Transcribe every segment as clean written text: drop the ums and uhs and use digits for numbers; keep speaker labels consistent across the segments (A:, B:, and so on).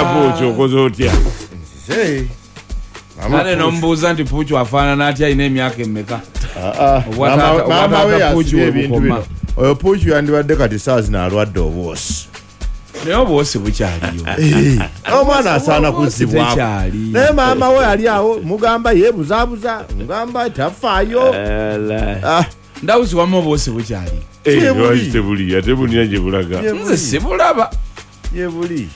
A: Taata Puuki, okoze otya?
B: Nzize.
C: Kale nomubuuza nti Puuki afaanana atya, alina emyaka emeka?
B: Maama we
C: Obwataata Puuki
B: yasibye ebintu
C: webukoma.
B: bino. Oyo Puuki yandibadde kati saa zino alwadde obwosi.
C: Naye obwosi bukyaliyo.
B: Omwana asaana
C: Obwosi
B: kuzzibwako.
C: tekyali.
B: Naye maama we ali awo mugamba yeebuzaabuza, mugamba tafaayo. Ah,
C: Ndawuzi wamu obwosi bukyali.
B: Tebuli.
A: Tebuli ate bulina gye bulaga.
C: Nze sibulaba.
B: Yebuli.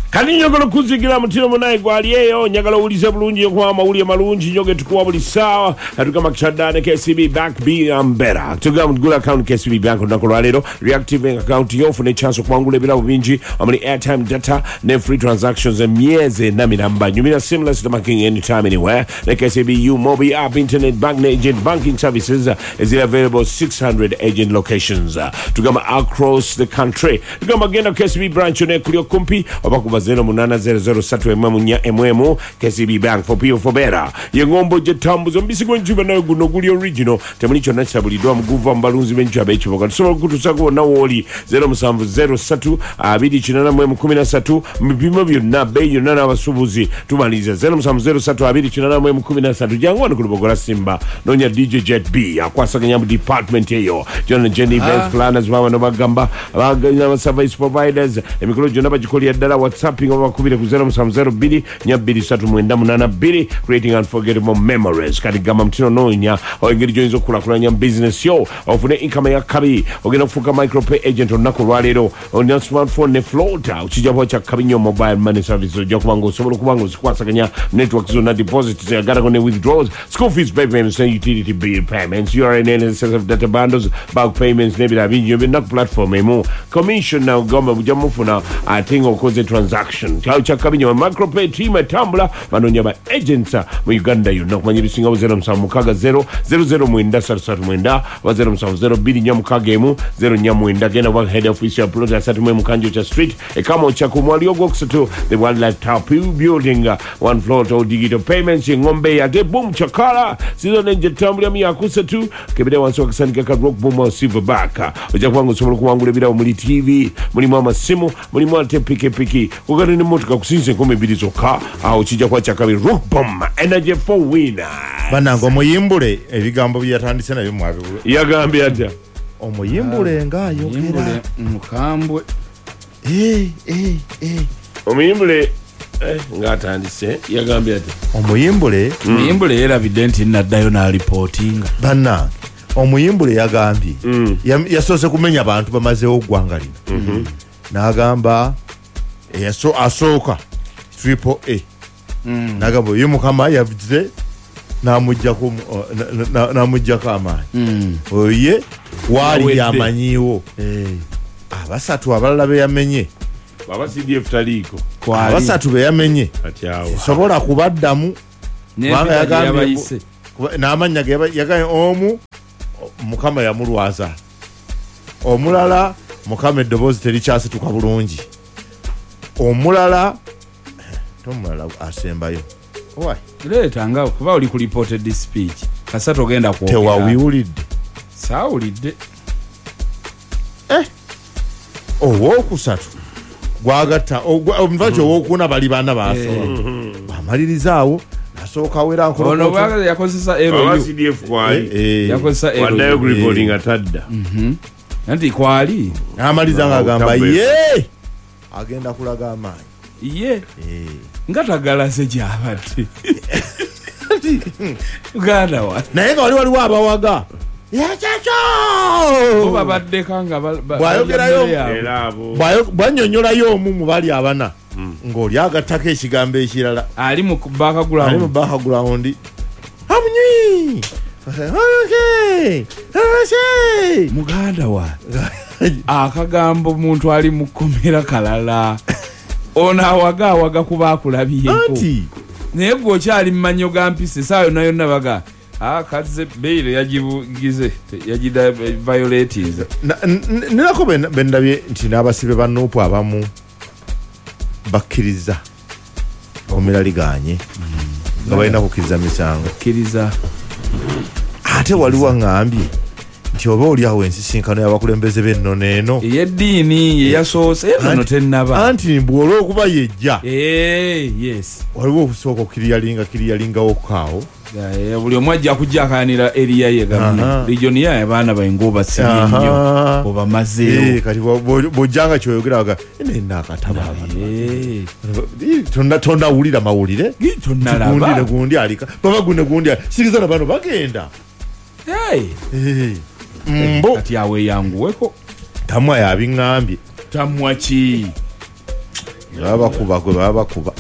A: Kati njagala okuzigira mutiro munaye gwali eyo, njagala owulize bulungi okuba amawulire malungi nnyo ge tukuwa buli ssaawa. Tugamba kitaddaane KCB Bank be better. Tugamba gula account KCB Bank olunaku lwaleero, reactive account yo ofune chance okuwangula ebirabo bingi omuli airtime, data ne free transactions emyezi 4 miramba. Nyumira seamless banking anytime, anywhere ne KCB U Mobi app, internet bank ne agent banking services eziri available 600 agent locations, tugamba across the country. Tugamba genda KCB branch yonna ekuli okumpi oba kuba 080031 KCB Bank, for people, for better. Ye ngombo gyetambuza omubisi gw'enjuba nayo guno guli original, temuli kyonna kisabuliddwa muguva mu balunzi b'enjuba ab'ekiboga. Tusobola okukutuusako wonna wooli 0703 281 mu bipimo byonna, bbeeyi yonna n'abasuubuzi tumaliriza 0703 281 . Jangu wano ku Lubogola Simba, noonya DJ Jet B akwasaganya mu department eyo John Jenny events planners baba bagamba abaganya service providers emikolo gyonna bagikolera ddala. Whatsapping oba bakubire ku 0702 423 creating unforgettable memories. Kati gamba mutino noonya engeri gy'oyinza okukulaakulanya mu business yo ofune income eyakabi. Ogenda kufuuka micropay agent olunaku olwaleero. Olina smartphone ne floater, kijja kuba kyakabi nnyo. Mobile money services ojja kuba nga osobola okuba nga ozikwasaganya network zonna, deposits agarako ne withdrawals, school fees payments ne utility bill payments, URA, NSSF data bundles, bulk payments n'ebirala bingi nnyo, byonna ku platform emu. Commission na gamba bujja mufuna ate nga okoze transaction kyawo kyakabi nnyo. Micropay team etambula banoonya ba agents mu Uganda yonna. Okumanya ebisingawo 0760 009339 oba 0702 461 049. Genda wa head office ya plot 31 Kanjo Street e Kamwokya ku mwali ogwokusatu, the Wildlife Tower building, one floor to digital payments. Engombe ate boom chakala season enjetambuliramu yakusatu kebere wansi wakasandika ka Rock Boom Silverback. Ojja kubanga osobola okuwangula ebirabo muli TV, mulimu amasimu, mulimu ate pikipiki kugenda nemmotoka kusinza 2000 zokka. Awo kijja kuba kyakabi. Rock Bomb energy for winner.
B: Bannange, omuyimbule ebigambo bye yatandise nabyo mwabiwula.
A: Yagambye atya?
B: Omuyimbule ng'ayogera.
C: Yimbule mukambwe.
B: Eh, eh, eh.
A: Omuyimbule ng'atandise yagambye atya?
B: Omuyimbule.
C: Muyimbule yeerabidde nti naddayo n'alipootinga.
B: Bannange, omuyimbule yagambye yasoose kumenya bantu bamazeewo ggwanga lino. N'agamba asooka Triple A, n'agamba oyo Mukama yavuze n'amuggyako amaanyi, oyo ye waali
C: Yawedde.
B: yamanyiiwo. Abasatu abalala be yamenye,
A: Baba CDF taliiko.
C: Kwali.
B: Abasatu be yamenye
A: Kati awo
B: sobola kubaddamu kubanga
C: N'empita gye
B: yagambye
C: yabayise.
B: N'amannya ge yagambye omu Mukama yamulwaza, omulala Mukama eddoboozi terikyasituka bulungi, omulala tomulala asembayo. Owai,
C: Leeta nga kuba oli ku reported speech kasatu ogenda kwogera.
B: Tewawiwulidde?
C: Saawulidde.
B: Owokusatu gwagatta omuvaaki owokuna bali bana basoba bamaliriza awo nasooka wera.
C: Ono bwagaza yakozesa
A: Baba
C: LU.
A: CDF kwali.
C: Yakozesa
A: Waddayo
C: LU.
A: ku reporting atadda.
C: Anti kwali.
B: Namaliza ngaagamba
A: Tabwe.
B: ye agenda kulaga amaanyi.
C: Ye nga tagalase gyabadde uganda wa.
B: Naye nga wali waliwo abawaga yakyakyo.
C: Bo babaddeka nga
B: Bw'ayogerayo-
C: balya mmere yaabwe.
A: Era abo
B: Bwannyonnyolayo omu mu bali abana ng'oli agattako ekigambo ekirala.
C: Ali mu
B: Ali mu
C: background.
B: background amunywi. Okay. Okay.
C: Muganda wa akagambo muntu ali mu kkomera kalala, ono awaga awaga kuba akulabyeko.
B: Anti
C: Naye gwe okyali mu mannyo ga mpisa esaawa yonna yonna baga kazze beyiro yagibugize yagida violatinze.
B: Ninako bendabye nti n'abasibe ba NUP abamu bakkiriza komera liganye nga balina kukkiriza misango.
C: Kkiriza.
B: Ate waliwo aŋŋambye Nti oba oli awo ensisinkano y'abakulembeze b'ennono eno
C: ey'eddiini yeyasoose ennono tennaba
B: anti mbu olw'okuba yejja.
C: Yes.
B: Waliwo okusooka okiriyalingawo kaawo.
C: Buli omu ajja kujjakanira eriya ye gavumenti region ye abaana bainga obasibye nnyo obamazeewo.
B: Kati bw'ojjanga kyoyogera waga nena akataba tonnawulira mawulire
C: tonnalaba
B: gundi alika baba gune gundi sikiriza na bano bagenda. Mbo
C: kati awe yanguweko
B: tamwa yabiŋŋambye.
C: Tamwa ki?
B: Babakuba gwe babakuba.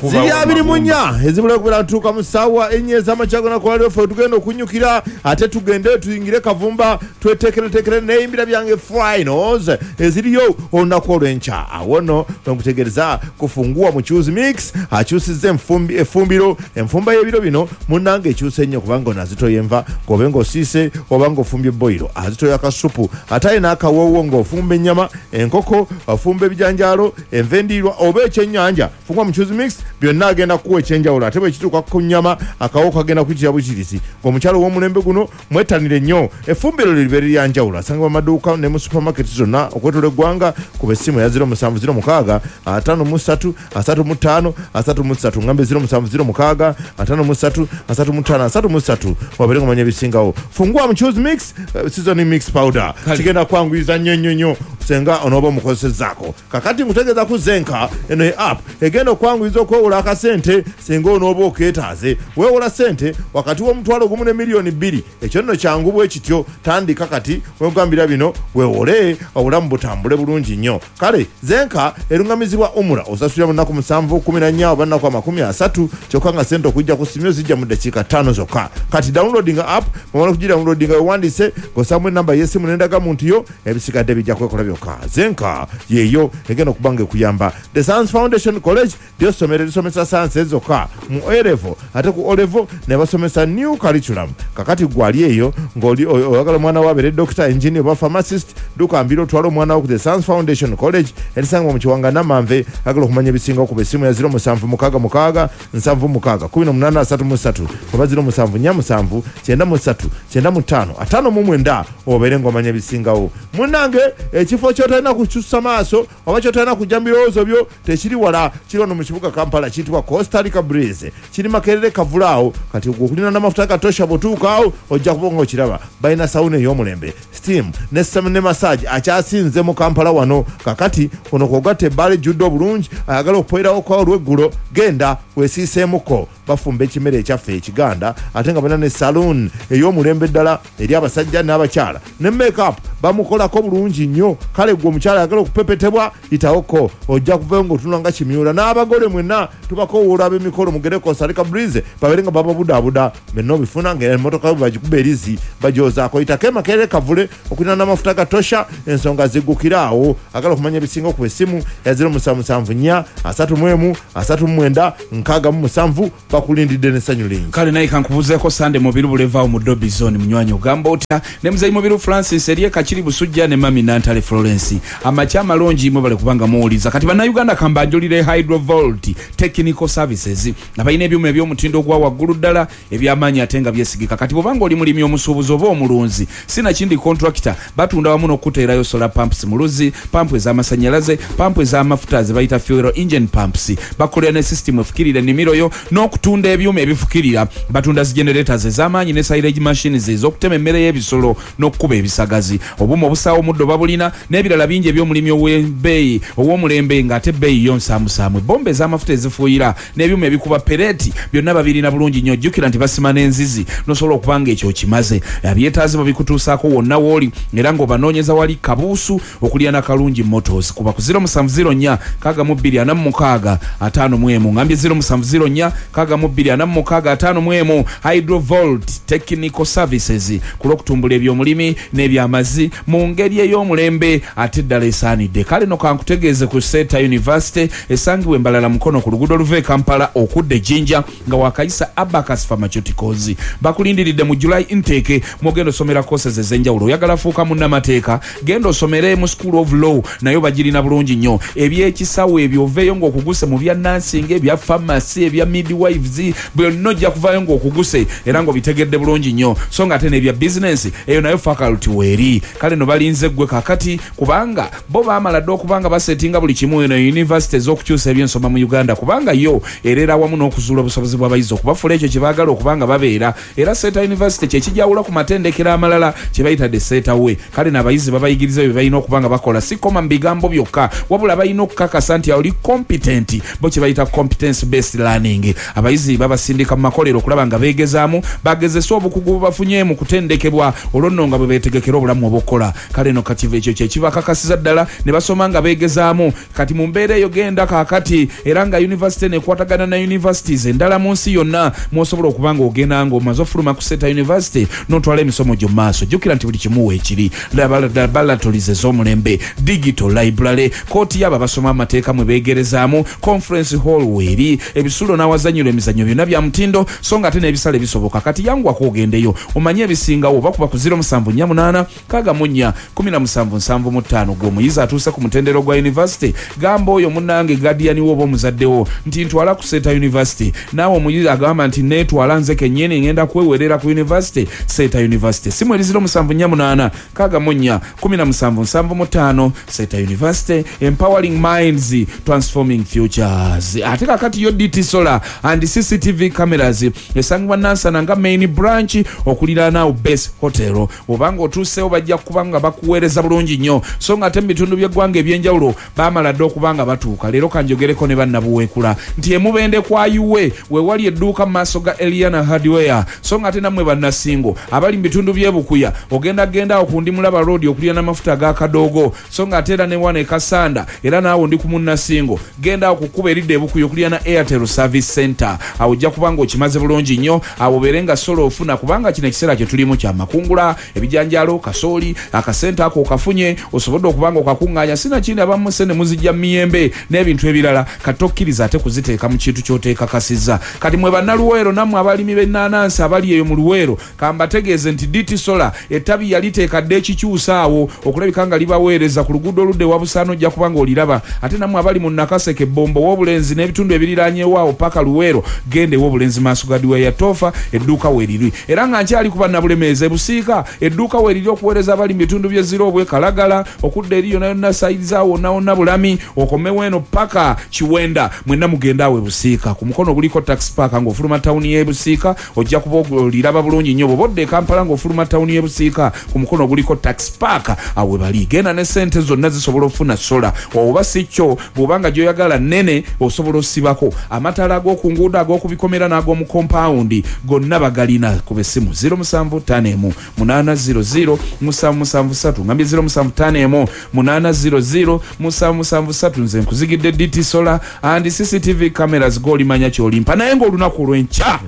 B: Ziri 24 ezibula kubera ntuuka mu ssaawa 4 ez'amakya gonna ku Lwaffe tugenda okunyukira ate tugende tuyingire Kavumba tweteekereteekere n'eyimbira byange finals eziriyo olunaku olw'enkya. Awo nno nkutegeereza kufungua Muchuzi Mix akyusizza effumbiro enfumba y'ebiro bino munnange ekyuse nnyo kubanga ono azitoya enva ng'obe ng'osiise oba ng'ofumbye boyiro azitoya akasupu ate alina akawoowo ng'ofumba ennyama enkoko ofumba ebijanjaalo enva endiirwa oba ekyennyanja. Fungua Muchuzi Mix byonna agenda kuwa ekyenjawulo ate bwe kituuka ku nnyama akawo kagenda kuyitira bukirisi. Ng'omukyalo w'omulembe guno mwettanire nnyo effumbiro libeere lya njawulo asangibwa amaduuka ne mu supermarket zonna okwetooloola eggwanga. Kuba essimu ya 0706 53 35 33 ngambe 0706 53 35 33 wabeere ng'omanya ebisingawo. Fungua Muchuzi Mix seasoning mix powder kigenda kwanguyiza nnyo nnyo nnyo senga onooba omukozesezzaako. Kakati nkutegeeza ku Zenka eno ye app egenda okwanguyiza okwewola akasente singa onooba okeetaaze. Weewola ssente wakati w'omutwalo 1 ne miliyoni 2. Ekyo nno kyangu bwe kityo. Tandika kati wegambira bino weewole obulamu butambule bulungi nnyo. Kale Zenka erungamizibwa umura osasulira mu nnaku 7 14 oba nnaku 30 kyokka nga ssente okujja ku ssimu zijja mu ddakiika 5 zokka. Kati downloading app bw'omala okugidownloadinga weewandiise ng'ossaamu ennamba y'essimu n'endagamuntu yo ebisigadde bijja kwekola byokka. Zenka yeeyo egenda okuba nga ekuyamba. The Science Foundation College lyo ssomero erisomesa science zokka mu A-level ate ku O-level ne basomesa new curriculum. Kakati gwali eyo ng'oli oyagala omwana wo abeere doctor, engineer oba pharmacist, dduka mbiro otwale omwana wo ku The Science Foundation College erisangibwa mu Kiwanga Namanve. Agala okumanya ebisingawo kuba essimu ya 0766 76 18 33 oba 0747 93 95 59 obeere ng'omanya ebisingawo. Munnange ekifo ky'otalina kukyusa maaso oba ky'otalina kujja mu birowoozo byo tekiri wala, kiri wano mu kibuga Kampala kiyitibwa Costa Rica Breeze kiri Makerere Kavulaawo. Kati okulina n'amafuta gatosha bw'otuukaawo ojja kuba ng'okiraba. Balina sawuna ey'omulembe steam ne massage akyasinze mu Kampala wano. Kakati ono kw'ogatta ebbaala ejjudde obulungi ayagala okupoerawo kwa olw'eggulo genda weesiiseemuko. Bafumba ekimere ekyaffe ekiganda ate nga balina ne saloon ey'omulembe ddala eri abasajja n'abakyala ne make-up bamukolako bulungi nnyo. Kale gwe omukyala ayagala okupepetebwa yitawoko ojja kuvayo ng'otunula nga kimyula. N'abagole mwenna tubakowoola ab'emikolo mugere Costa Rica Breeze babeere nga bababudaabuda benna obifuna ng'emmotoka bagikuba erizi bagyozaako. Yitako e Makerere Kavule okulina n'amafuta gatosha ensonga ziggukira awo. Agala okumanya ebisinga okuba essimu ya 0774 31 39 67 bakulindidde n'essanyu lingi.
C: Kale naye kankubuzeeko Sande Mubiru bulevaawo mu Dobby Zone munywanyi ogamba otya ne muzeeyi Mubiru Francis eriye Kakiri Busujja ne Mami Nantale Florence. Amakya amalungi mwebale kubanga muwuliza. Kati bannayuganda kambanjulire Hydrovolt Technical Services abalina ebyuma eby'omutindo ogwa waggulu ddala eby'amaanyi ate nga byesigika. Kati bw'obanga oli mulimi omusuubuzi oba omulunzi sinakindi contractor batunda wamu n'okuteerayo solar pumps mu luzzi, pampu ez'amasannyalaze, pampu ez'amafuta ze bayita fuel engine pumps. Bakolera ne system efukirira ennimiro yo n'okutunda ebyuma ebifukirira. Batunda zi generators ez'amaanyi ne silage machines ez'okutema emmere y'ebisolo n'okukuba ebisagazi. Obuuma obusaawa omuddo babulina n'ebirala bingi eby'omulimi ow'ebbeeyi ow'omulembe ng'ate ebbeeyi yo nsaamusaamu. Bombe ez'amafuta ezifuuyira n'ebyuma ebikuba pereti byonna babirina bulungi nnyo. Jjukira nti basima n'enzizi n'osobola okuba nga ekyo okimaze. Abyetaazi babikutuusaako wonna w'oli era ng'obanoonyeza wali Kabuusu okulya na Kalungi Motors. Kuba ku 0704 62 46 51 ngambye 0704 62 46 51. Hydrovolt Technical Services ku lw'okutumbula eby'omulimi n'ebyamazzi mu ngeri ey'omulembe ate ddala esaanidde. Kale no kankutegeeze ku Seta University esangibwa Embalala Mukono ku luguudo oluva e Kampala okudda e Jinja nga wakayisa Abacus Pharmaceuticals. Bakulindiridde mu July intake mwogenda osomera courses ez'enjawulo. Oyagala fuuka munnamateeka genda osomere mu School of Law nayo bagirina bulungi nnyo. Ebyekisawo ebyo oveeyo ng'okuguse mu bya nursing, ebya pharmacy, ebya midwives cooperatives, byonna ojja kuvaayo ng'okuguse era ng'obitegedde bulungi nnyo. So nga ate n'ebya bizinensi eyo nayo faculty weeri. Kale no balinze ggwe kakati, kubanga bo baamala dda okuba nga basetinga buli kimu eno university ez'okukyusa ebyensoma mu Uganda, kubanga yo erera wamu n'okuzuula obusobozi bw'abayizi okubafuula ekyo kye baagala okuba nga babeera. Era Seeta University kye kijawula ku matendekero amalala kye bayita the Seeta way. Kale n'abayizi babayigiriza bye balina okuba nga bakola, si koma mu bigambo byokka, wabula balina okukakasa nti oli competent, bo kye bayita competence based learning. Abayizi babasindika mu makolero okulaba nga beegezaamu, bagezesa obukugu bwe bafunye mu kutendekebwa, olwo nno nga bwe beetegekera obulamu obw'okukola. Kale no kati ekyo kye kibakakasiza ddala ne basoma nga beegezaamu. Kati mu mbeera eyo genda kaakati, era nga university eno ekwatagana na universities endala mu nsi yonna, mw'osobola okuba nga ogenda ng'omaze ofuluma ku Seeta University n'otwala emisomo gyo mu maaso. Jjukira nti buli kimu weekiri, laboratories ez'omulembe, digital library, kooti y'abo abasoma amateeka mwe beegerezaamu, conference hall weeri, ebisulo n'awazannyirwa emizannyo byonna bya mutindo, so nga ate n'ebisale bisoboka. Kati yanguwako ogendeyo omanye ebisingawo. Bakuba ku 0748 64 17 75. Gwe omuyizi atuuse ku mutendero gwa university, gamba oyo munnange guardian wo oba omuzaddewo nti ntwala ku Seeta University. Naawe omuyizi agamba nti neetwala nze kennyini, ngenda kwewerera ku university, Seeta University. Simu eri 0748 64 17 75. Seeta University, empowering minds, transforming futures. Ate kakati yo DT Solar and CCTV cameras esangibwa Nansana nga main branch okuliraana Base Hotel. Obanga otuuseewo bajja kuba nga bakuweereza bulungi nnyo. So nga ate mu bitundu by'eggwanga ebyenjawulo baamala dda okuba nga batuuka. Leero kanjogereko ne bannabuweekula nti emubende kwa yuwe wewali edduuka mu maaso ga Eliana Hardware. So nga ate nammwe bannasingo abali mu bitundu by'ebukuya, ogenda genda awo ku Ndimulaba Road okulya n'amafuta aga kadoogo. So nga ate era ne wano e Kasanda, era naawe ndi ku munnasingo, genda awo ku kkubo eridda ebukuya okulya na Airtel Service Center, awo ojja kuba nga okimaze bulungi nnyo. Awo obeere nga sola ofuna, kubanga kino ekiseera kye tulimu kyamakungula, ebijanjaalo, kasooli, akasente ako okafunye, osobodde okuba nga okakuŋŋaanya, sinakindi abamu sente muzijja mu miyembe n'ebintu ebirala. Kati tokkiriza ate kuziteeka mu kintu ky'oteekakasizza. Kati mwe bannaluweero, nammwe abalimi b'ennaanansi abali eyo mu Luweero, kambategeeze nti DT Solar ettabi yaliteeka dda ekikyusa awo okulabika nga libaweereza ku luguudo oludda ewa Busaana, ojja kuba nga oliraba. Ate nammwe abali mu Nakaseke, Bombo, W'obulenzi n'ebitundu ebiriraanyewo awo paka Luweero, genda ew'Obulenzi maaso ga diwa ya Toofa, edduuka weeriri. Era nga nkyali ku bannabulemeezi, ebusiika edduuka weeriri okuweereza abali mu bitundu by'e Kalagala okudda eri yonna yonna sayiza wonna wonna Bulami, okomewo eno paka Kiwenda, mwenna mugenda awo ebusiika ku mukono oguliko taxi park ng'ofuluma tawuni y'ebusiika, ojja kuba oliraba bulungi nnyo. Bw'oba odda e Kampala ng'ofuluma tawuni y'ebusiika ku mukono oguliko taxi park, awo we bali. Genda ne sente zonna zisobola okufuna sola, oba si kyo bw'oba nga gy'oyagala nnene osobola osibako amataala ag'oku nguudo, ag'okubikomera n'ag'omu kompawundi, gonna bagalina. Kuba essimu 0751 800 773, ngambye 0751 800 773. Nze nkuzigidde DT Solar and CCTV cameras, golimanya kyolimpa. Naye ng'olunaku olw'enkya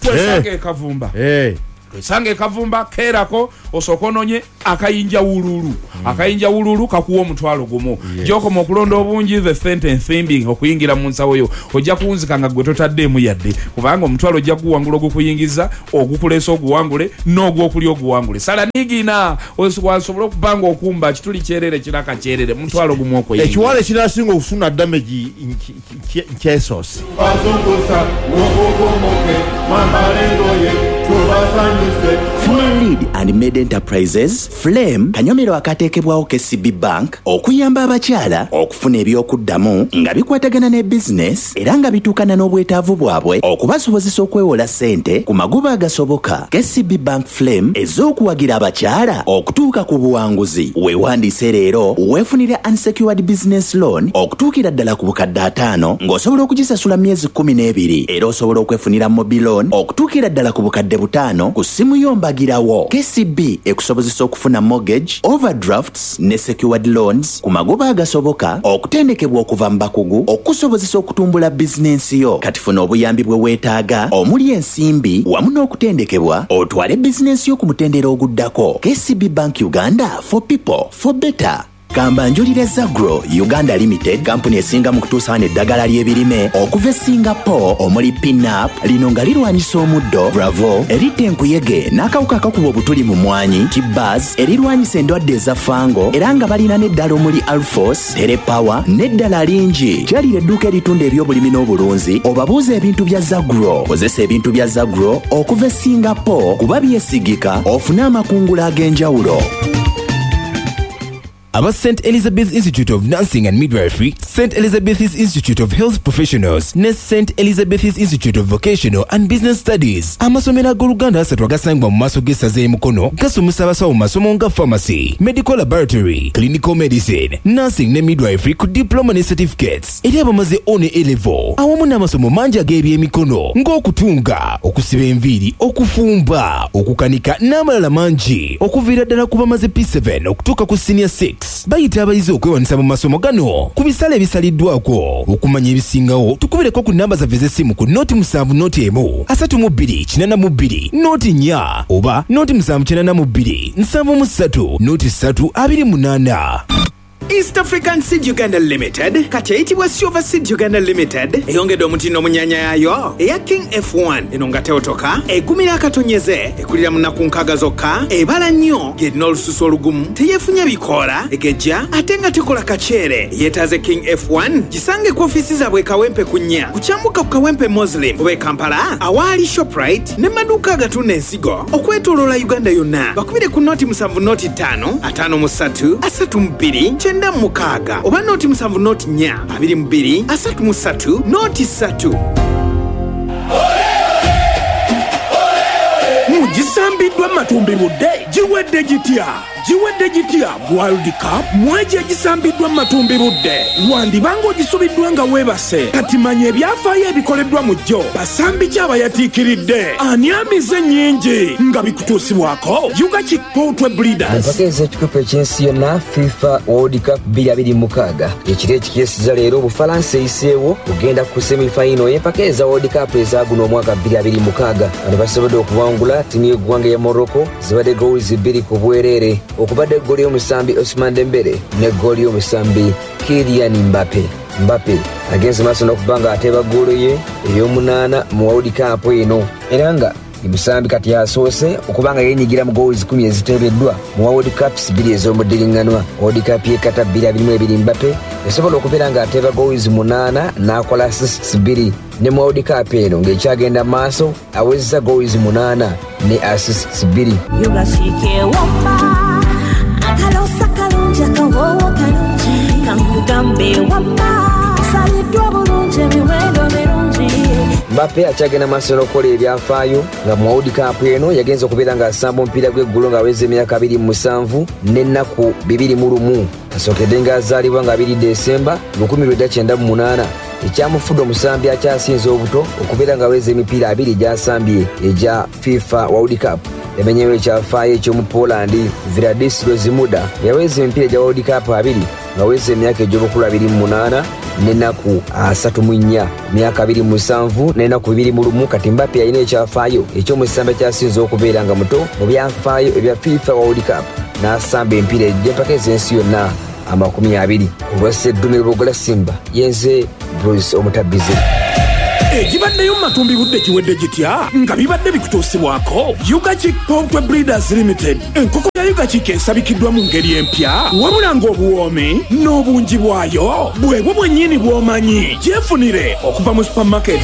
C: twesanga ekavumba, twesanga ekavumba keerako osooka ononye akayinja wululu. Akayinja wululu kakuwa 10,000. Gyokoma okulonda obungi, the sente ensimbi okuyingira mu nsawo yo, ojja kuwunzika nga gwe totaddeemu yadde, kubanga 10,000 ojja kuwangula ogukuyingiza, ogukuleesa oguwangule, n'ogwokulya oguwangule. Sala nigina wasobole okuba nga okumba kituli kyerere kiraka kyerere, 10,000 okweyingira.
B: Ekiwala ekinasinga okufuna damage nkyesoose.
D: Bazungusa mukunkumuke, mwambale engoye tubasanyuse.
E: Full Lead and Made Enterprises Flame kanyomero akateekebwawo KCB Bank okuyamba abakyala okufuna ebyokuddamu nga bikwatagana ne bizinesi era nga bituukana n'obwetaavu bwabwe, okubasobozesa okwewola ssente ku magoba agasoboka. KCB Bank Flame ez'okuwagira abakyala okutuuka ku buwanguzi. Weewandiise leero weefunire unsecured business loan okutuukira ddala ku 500,000 ng'osobola okugisasula myezi 12. Era osobola okwefunira mobile loan okutuukira ddala ku 5,000 ku ssimu yo mbagirawo. KCB ekusobozesa okufuna mortgage, overdrafts ne secured loans ku magoba agasoboka, okutendekebwa okuva mu bakugu okukusobozesa okutumbula bizinensi yo. Kati funa obuyambi bwe weetaaga omuli ensimbi wamu n'okutendekebwa, otwale bizinensi yo ku mutendera oguddako. KCB Bank Uganda, for people, for better. Kambanjulire Zagro Uganda Limited, kampuni esinga mu kutuusa wano eddagala ly'ebirime okuva e Singapore omuli Pinap, lino nga lirwanyisa omuddo, Bravo eritta enkuyege n'akawuka akakuba obutuli mu mmwanyi, Tibaz erirwanyisa endwadde eza fango, era nga balina n'eddala omuli Alphos, Telepower n'eddala lingi. Kyalira edduuka eritunda ebyobulimi n'obulunzi obabuuze ebintu bya Zagro. Kozesa ebintu bya Zagro okuva e Singapore kuba byesigika ofune amakungula ag'enjawulo.
F: Aba St Elizabeth Institute of Nursing and Midwifery, St Elizabeth's Institute of Health Professionals ne St Elizabeth's Institute of Vocational and Business Studies, amasomero ag'Oluganda asatu agasangibwa mu maaso g'essaza e Mukono gasomesa abasawo mu masomo nga Pharmacy, Medical Laboratory, Clinical Medicine, Nursing ne Midwifery ku Diploma ne Certificates eri abamaze O ne A Level awamu n'amasomo mangi ag'ebyemikono ng'okutunga, okusiba enviiri, okufumba, okukanika n'amalala mangi okuviira ddala ku bamaze P7 okutuuka ku Senior 6. Bayita abayizi okwewandiisa mu masomo gano ku bisale ebisaliddwako. Okumanya ebisingawo tukubireko ku nnamba zaffe ez'essimu ku noti musanvu noti emu asatu mu bbiri kinana mu bbiri noti nnya oba noti musanvu kinana mu bbiri nsanvu mu ssatu noti ssatu abiri munaana.
G: East African Seed Uganda Limited kati eyitibwa Silver Seed Uganda Limited eyongedde omutindo mu nnyanya yaayo eya King F1 eno nga tewotoka, egumira akatonyeze, ekulira mu nnaku nkaaga zokka, ebala nnyo, ng'erina olususu olugumu, teyeefunya bikoola, egejja ate nga tekola kaceere. Eyeetaaze King F1 gisange ku ofiisi zaabwe e Kawempe ku nnya ku kyambuka ku Kawempe Muslim oba e Kampala awaali Shoprite ne maduuka agatunda ensigo okwetoloola Uganda yonna. Bakubire ku nooti musanvu nooti ttaano ataano mu ssatu asatu mu bbiri kyenda mu mukaaga oba nooti musanvu nooti nnya abiri mu bbiri asatu mu ssatu nooti ssatu.
H: Mugisambiddwa matumbi budde giwedde gitya? Giwedde gitya World Cup? Mwegi egisambiddwa mu matumbi budde wandiba ng'ogisubiddwa nga weebase. Kati manya ebyafaayo ebikoleddwa mu jjo, basambi ki abayatiikiridde, ani amize ennyingi, nga bikutuusibwako Ugachik Poultry Breeders.
I: Empaka ez'ekikopo eky'ensi yonna FIFA World Cup 2026 ekiro ekikeeseza leero, Obufalansa eyiseewo kugenda ku semifayino y'empaka eza World Cup eza guno omwaka 2026. Bano basobodde okuwangula ttiimu y'eggwanga eya Morocco, zibadde goals 2 ku bwereere, okubadde eggooli y'omusambi Ousmane Dembele n'eggooli y'omusambi Kylian Mbappe. Mbappe agenze maaso n'okuba nga ateeba ggoolo ye ey'omunaana mu World Cup eno, era nga musambi kati asoose okuba nga yenyigira mu goals 10 eziteebeddwa mu World Cups 2 ez'omuddiringanwa. World Cup y'e Qatar 2022 Mbappe yasobola okubeera ng'ateeba goals 8 n'akola assists 2, ne mu World Cup eno ng'ekyagenda maaso awezza goals 8 ne assists 2.
J: Akalosa kalungi, akawoowo kalungi, kankugambe wamma saliddwa bulungi, emiwendo mirungi.
I: Mbappe akyagenda maaso n'okukola ebyafaayo nga mu World Cup eno yagenza okubeera ng'asamba omupiira gw'eggulo ng'aweza emyaka 27 n'ennaku 21. Asookedde ng'azaalibwa nga 2 Desemba 1998, ekyamufudde omusambi akyasinze obuto okubeera ng'aweza emipiira 2 gy'asambye egya FIFA World Cup. Yamenyewo ekyafaayo eky'omu Poland Władysław Zmuda yaweza emipiira gya World Cup 2 ng'aweza emyaka egy'obukulu 28 n'ennaku 34, myaka 27 n'ennaku 21. Kati Mbappe alina ekyafaayo eky'omusambi ekyasinze okubeera nga muto mu byafaayo ebya FIFA World Cup n'asamba emipiira egy'empaka ez'ensi yonna 20. Olwa Sseddume Lubogola Simba, yenze Bruce Omutabizi.
H: Egibaddeyo mu matumbi budde kiwedde gitya nga bibadde bikutuusibwako Ugachik Poultry Breeders Limited. Enkoko ya Ugachik esabikiddwa mu ngeri empya, wabula ng'obuwoomi n'obungi bwayo bwebwo bwennyini bw'omanyi. Gyefunire okuva mu supermarket.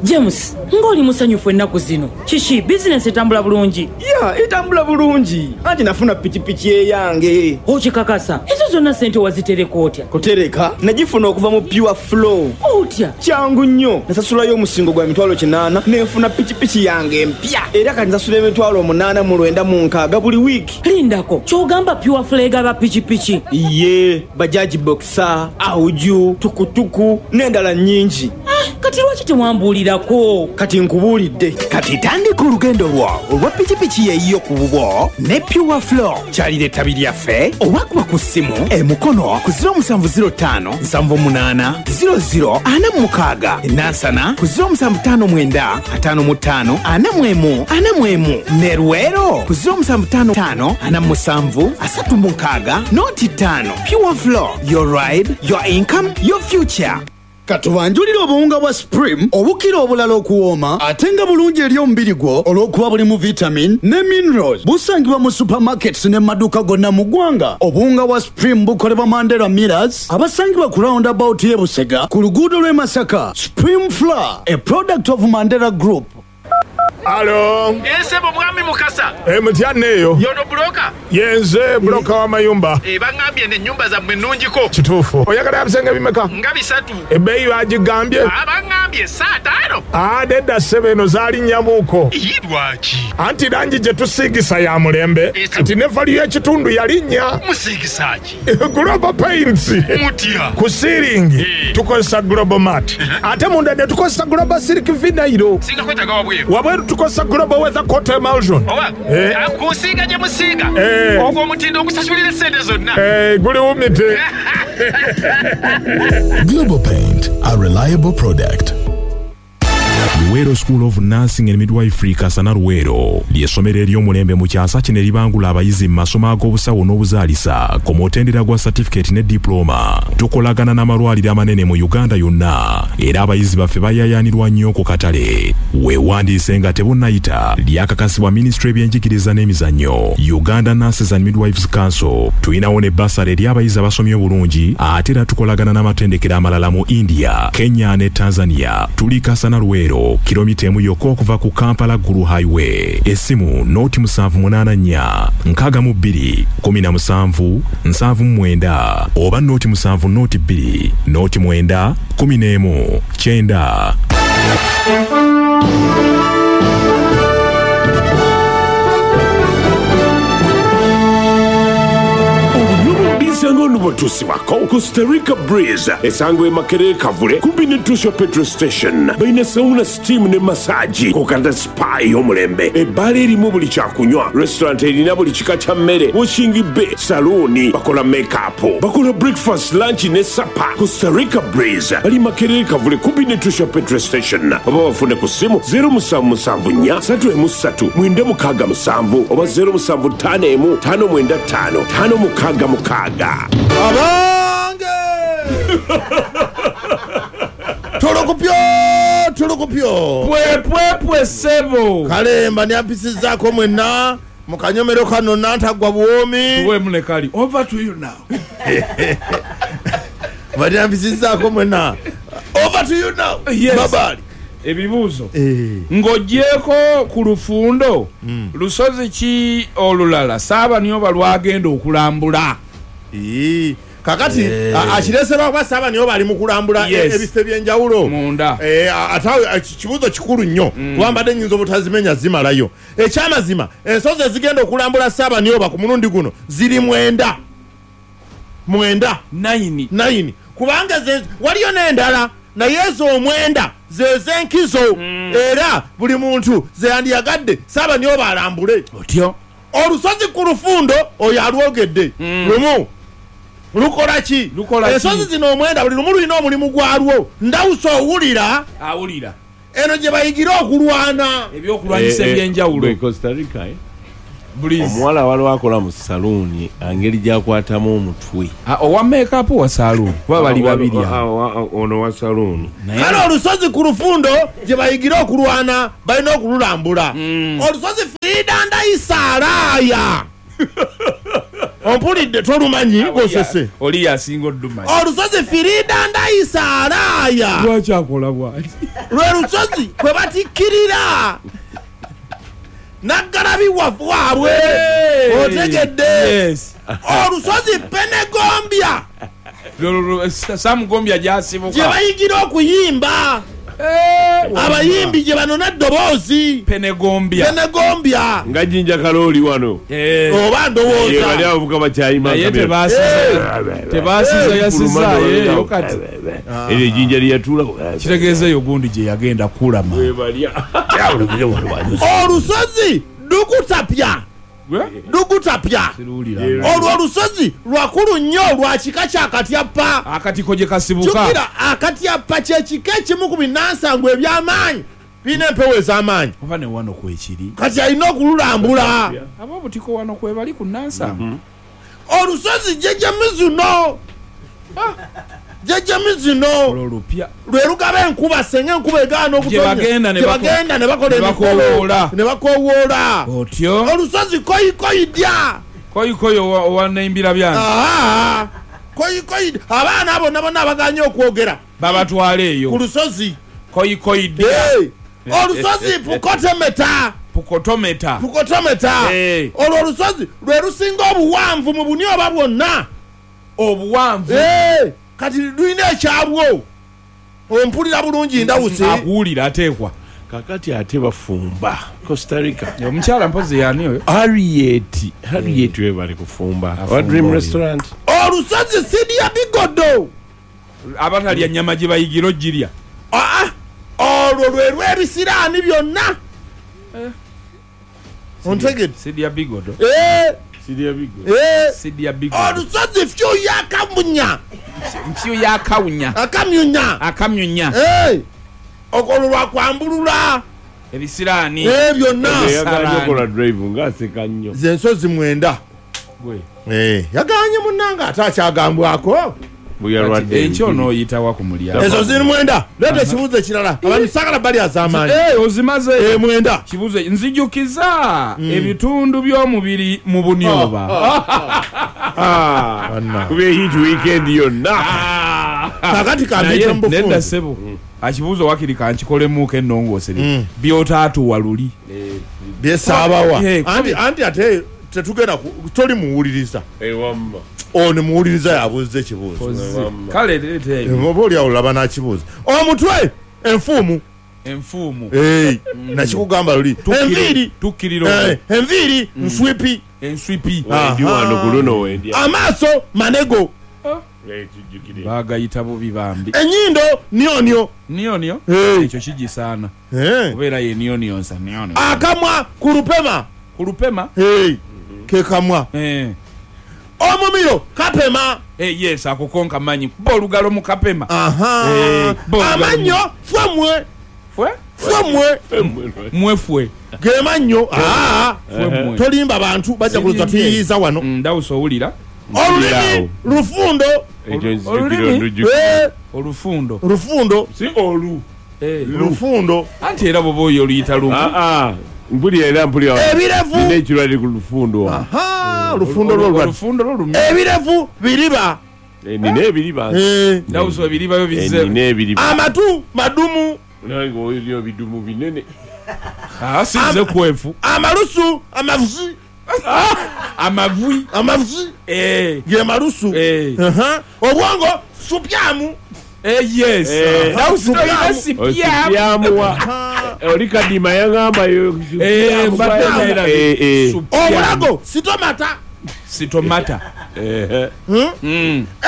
K: James, ng'oli musanyufu ennaku zino. Kiki, bizinensi etambula bulungi?
L: Ya, etambula bulungi. Anti nafuna pikipiki eyange.
K: Okikakasa? Ezo zonna ssente wazitereka otya?
L: Kutereka? Nagifuna okuva mu Pure Flow.
K: Otya?
L: Kyangu nnyo. Nasasulayo omusingo gwa 800,000 nenfuna pikipiki yange empya. Era kati nsasula 8,996 buli wiiki.
K: Lindako, ky'ogamba Pure Flow egaba pikipiki?
L: Iye, bajaji boxer, auju, tukutuku n'endala nnyingi.
K: Kati Kati lwaki tewambuulirako?
G: Kati nkubuulidde. Kati tandika olugendo lwo olwa pikipiki yeeyiyo ku bubwo ne Pure Flow. Kyalira ettabi lyaffe oba kuba ku ssimu emukono ku 0705 78 00 46, Nansana ku 0759 55 41 41, ne Luweero ku 0755 47 36 05. Pure Flow, your ride, your income, your future.
M: Katubanjulire obuwunga bwa Supreme obukira obulala okuwooma ate nga bulungi eri omubiri gwo olw'okuba bulimu vitamin ne minerals. Busangibwa mu supermarkets ne maduuka gonna mu ggwanga. Obuwunga bwa Supreme bukolebwa Mandela Millers abasangibwa ku roundabout y'e Busega ku luguudo lw'e Masaka. Supreme Flour, a product of Mandela Group.
N: Alo.
O: Ensebo mwami Mukasa.
N: Mutya neeyo.
O: Yono buloka?
N: Yenze buloka w'amayumba.
O: Baŋŋambye n'ennyumba zammwe nnungiko.
N: Kituufu. Oyagala ebisenge bimeka?
O: Nga bisatu.
N: Ebbeeyi bagigambye?
O: Baŋŋambye 5.
N: Nedda ssebo, eno zaalinnyamuuko.
O: Ye lwaki?
N: Anti langi gye tusiigisa ya mulembe. Kati ne value y'ekitundu yalinnya.
O: Musiigisa ki?
N: Global Paints.
O: Mutya?
N: Ku siiringi tukozesa Global Mat. Ate munda ne tukozesa Global Silk Vinyl.
O: Singa kwetaaga wabweru.
N: Wabweru tukozesa Global Weather Coat Emulsion.
O: Oba kusiiga gye musiiga. Ogwo omutindo ogusasulira essente zonna.
N: Guliwumite.
P: Global Paint, a reliable product.
Q: Luweero School of Nursing and Midwifery Kasana Luweero ly'essomero ery'omulembe mu kyasa kino eribangula abayizi mu masomo ag'obusawo n'obuzaalisa ku mutendera gwa certificate ne diploma. Tukolagana n'amalwaliro amanene mu Uganda yonna era abayizi baffe bayaayaanirwa nnyo ku katale. Weewandiise nga tebunnayita. Lyakakasibwa Minisitule y'ebyenjigiriza n'emizannyo, Uganda Nurses and Midwives Council. Tulinawo ne bursary eri abayizi abasomye obulungi ate era tukolagana n'amatendekero amalala mu India, Kenya ne Tanzania. Tuli Kasana Luweero, kilomita emu yokka okuva ku Kampala Gulu Highway. Essimu noti 784 62 17 79 oba noti 7 noti 2 noti 9 11 9.
A: Obutusibwako Costa Rica Breeze esangwa e Makerere Kavule kumpi ne Tusha Petrol Station. Balina sauna, steam ne massage, kokanda spa ey'omulembe, ebbaala erimu buli kyakunywa, restaurant erina buli kika kya mmere, washing bay, salooni, bakola makeup, bakola breakfast, lunch ne supper. Costa Rica Breeze bali Makerere Kavule kumpi ne Tusha Petrol Station. Oba bafune ku ssimu 0774 3 3 967 oba 0751 595 566.
B: Abange! Tulukupyo, tulukupyo.
C: Pwe pwe pwe sebo.
B: Kalemba niampisizaako mwenna mu kanyomero kano nantagwa buwomi.
C: Tuwe mulekali. Over to you now.
B: Baniampisizaako mwenna. Over to you now.
C: Yes.
B: Babali.
C: Ebibuuzo. Ng'ogyeko ku lufundo, lusozi ki olulala Ssaabaniyo lwagenda okulambula?
B: Kakati akireserwa kuba Ssaabaniyo bali mu kulambula ebifo ebyenjawulo ate kibuuzo kikulu nnyo kuba mbadde nnyinza obutazimenya zimalayo. Ekyamazima ensozi ezigenda okulambula Ssaabaniyo ku mulundi guno ziri 9 9 kubanga waliyo n'endala naye ezo 9 zez'enkizo era buli muntu zeyandiyagadde Ssaabaniyo alambule.
C: Otyo
B: olusozi ku lufundo oyo alwogedde lumu lukola ki? Ensozi zino 9 buli lumu lulina omulimu gwalwo. Ndawusa owulira
C: awulira
B: eno gye bayigira okulwana
C: ebyokulwanyisa ebyenjawulo.
A: Costa Rica omuwala waliwo akola mu saluuni engeri gy'akwatamu omutwe.
C: Owa makeup wa saluuni kuba bali babiri
A: ono wa saluuni.
B: Kale olusozi ku lufundo gye bayigira okulwana balina okululambula. Olusozi Frida Ndayisalaaya ompulidde tolumanyi gosese
C: oli yasinga oddumanyi.
B: Olusozi Frida Ndayisalaaya
C: lwaki akola bw'ati?
B: Lwe lusozi kwe batikkirira Naggalabi waabwe otegedde. Olusozi Penegombya
C: Samugombya gy'asibuka
B: gye bayigira okuyimba. Abayimbi gye banona eddoboozi.
C: Penegombya.
B: Penegombya.
A: Nga Jinja Kalooli wano.
B: Oba ndowooza.
A: Bali abavubuka bakyayima.
C: Naye tebasiza yasiza eyo kati.
A: Eryo ejjinja lyeyatuulako.
C: Kitegeeza eyo gundi gye yagenda kulama.
B: Olusozi lugutapya. Lugutapya. Olwo olusozi lwakulu nnyo lwa kika kya Katyappa.
C: Akatiko gye kasibuka.
B: Jjukira Akatyappa kye kika ekimu ku binnansangwa eby'amaanyi. Birina empewo ez'amaanyi.
C: Oba ne wano kwekiri.
B: Kati alina okululambula.
C: Ab'obutiko wano kwe bali ku Nansangwa.
B: Olusozi Jjajja Mizuno. Jjajja Mizuno.
C: Olwo lupya.
B: Lwe lugaba enkuba senga enkuba egaana okutonnya.
C: Gye
B: bagenda ne bakola emikolo. Ne bakowoola.
C: Otyo.
B: Olusozi Koyikoyidya.
C: Koyikoyi owa Naimbira byange.
B: Koyikoyi abaana abo bonna abagaanye okwogera.
C: Babatwala eyo.
B: Ku lusozi.
C: Koyikoyidya.
B: Olusozi Pukotometa.
C: Pukotometa.
B: Pukotometa. Olwo olusozi lwe lusinga obuwanvu mu bunyoba bwonna.
C: Obuwanvu.
B: Kati lulina ekyabwo. Ompulira bulungi Ndawusi.
C: Akuwulira ateekwa.
A: Kakati ate bafumba Costa Rica.
C: Omukyala mpozi yani oyo?
A: Harriet. Harriet we bali kufumba. Wa Dream Restaurant.
B: Olusozi Sidia Bigodo.
C: Abatalya nnyama gye bayigira ogirya.
B: Olwo lwe lw'ebisiraani byonna. Ontegedde?
C: Sidia Bigodo.
A: Sidia Bigodo.
C: Sidia Bigodo.
B: Olusozi Fyu yakamunya.
C: Fyu yakawunya.
B: Akamyunya.
C: Akamyunya.
B: Olwo lwakwambulula.
C: Ebisiraani.
B: Byonna.
A: Yaganye okola drive ng'aseka nnyo.
B: Ze ensozi 9. Yaganye munnange ate akyagambwako.
C: Enkyo onooyitawa ku mulyango.
B: Ezo ziri 9. Leeta ekibuuzo ekirala. Abantu saagala bali az'amaanyi.
C: Ozimaze.
B: 9.
C: Kibuuzo nzijukiza ebitundu by'omubiri mu bunyoba.
A: Kuba hit weekend yonna.
B: Kakati kambiyite mu bufunze.
C: Nedda ssebo. Akibuuzo wakiri kankikolemuuko ennongoosere. By'otaatuwa luli.
B: Byesaabawa. Anti ate tetugenda toli muwuliriza.
A: Wamma.
B: Ono muwuliriza yabuuza ekibuuzo.
C: Kale leeta.
B: Oba oli awo olaba n'akibuuza. Omutwe enfuumu.
C: Enfuumu.
B: Nakikugamba luli. Enviiri.
C: Tukkirira.
B: Enviiri nswipi.
C: Enswipi.
A: Wendi wano ku luno wendi.
B: Amaaso manego.
C: Bagayita bubi bambi.
B: Ennyindo nionio.
C: Nionio? Ekyo kigisaana. Kubeera ye nionionsa nionio.
B: Akamwa kulupema.
C: Kulupema?
B: Ke kamwa. Omumiro kapema.
C: Yes, ako konka manyi. Kuba olugalo mu kapema.
B: Amannyo fwemwe.
C: Fwe?
B: Fwemwe.
C: Mwefwe.
B: Ge mannyo. Tolimba bantu bajja kulowooza tuyiyiza wano.
C: Ndawusa owulira.
B: Olulimi lufundo.
C: Olulimi olufundo.
B: Lufundo.
A: Si olu.
B: Lufundo.
C: Anti era bw'oba oyo oluyita lumu.
A: Mpulira era mpulira.
B: Ebirevu.
A: Nina ekirwadde ku lufundo.
B: Lufundo lwo.
C: Olufundo lwo lumye.
B: Ebirevu biriba.
A: Nina ebiriba.
C: Ndawusa ebiriba byo bizze.
A: Nina ebiriba.
B: Amatu madumu.
A: Nange oyo bidumu binene.
C: Sinze kwefu.
B: Amalusu amavuzi.
C: Amavui.
B: Amavuzi. Ge malusu. Obwongo supyamu.
C: Yes. Ndawusa toyina sipyamu.
A: Oli kadima yagamba
B: obulago sitomata.
C: Sitomata.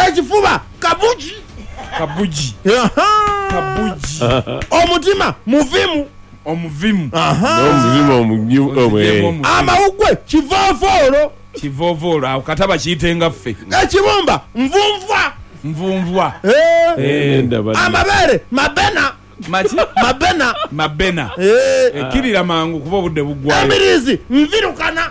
B: Ekifuba kabuji.
C: Kabuji. Kabuji.
B: Omutima muvimu.
C: Omuvimu.
A: Omuvimu.
B: Amawugwe kivovoolo.
C: Kivovoolo awo kataba kiyitenga ffe.
B: Ekibumba nvunvwa.
C: Nvunvwa.
B: Amabeere mabena.
C: Maki?
B: Mabena.
C: Mabena. Ekkirira mangu kuba obudde buggwayo.
B: Emirizi nvirukana.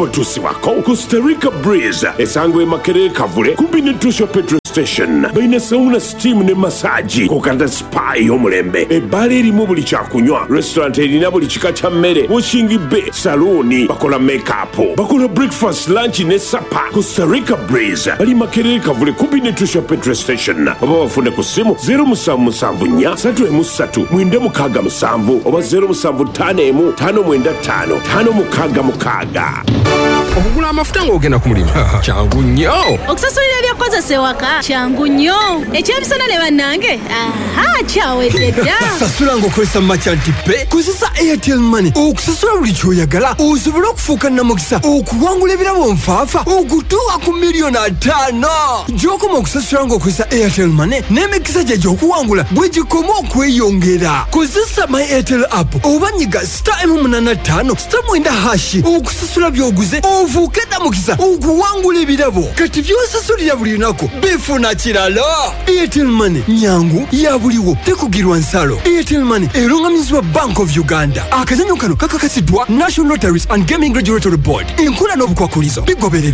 A: Obutusibwako Costa Rica Breeze esangwa e Makerere Kavule kumpi ne Tusho Petrol Station. Balina sauna, steam ne massage kokata spa ey'omulembe. Ebbaala erimu buli kyakunywa, restaurant erina buli kika kya mmere, washing bay, salooni, bakola makeup, bakola breakfast, lunch ne supper. Costa Rica Breeze bali Makerere Kavule kumpi ne Tusho Petrol Station. Oba bafune ku ssimu 0774 313 967 oba 0751 595 566.
R: Okugula amafuta ng'ogenda ku mulimu kyangu nnyo.
S: Okusasulira ebyokukozesa ewaka kyangu nnyo. Ekyemisana ne bannange, aha, kyawedde dda.
T: Sasula ng'okozesa Merchant Pay. Kozesa Airtel Money okusasula buli ky'oyagala, osobole okufuuka namukisa okuwangula ebirabo nfaafa okutuuka ku miliyoni 50. Gy'okoma okusasula ng'okozesa Airtel Money, n'emikisa gye gy'okuwangula bwe gikoma okweyongera. Kozesa My Airtel app oba nyiga *185*9# okusasula by'oguze, ofuuke namukisa okuwangula ebirabo. Kati by'osasulira buli lunaku bifuna kirala. Airtel Money nyangu, ya buliwo, tekugirwa nsalo. Airtel Money erungamizibwa Bank of Uganda. Akazanyo kano kakakasiddwa National Lotteries and Gaming Regulatory Board. Enkola n'obukwakulizo bigobererwa.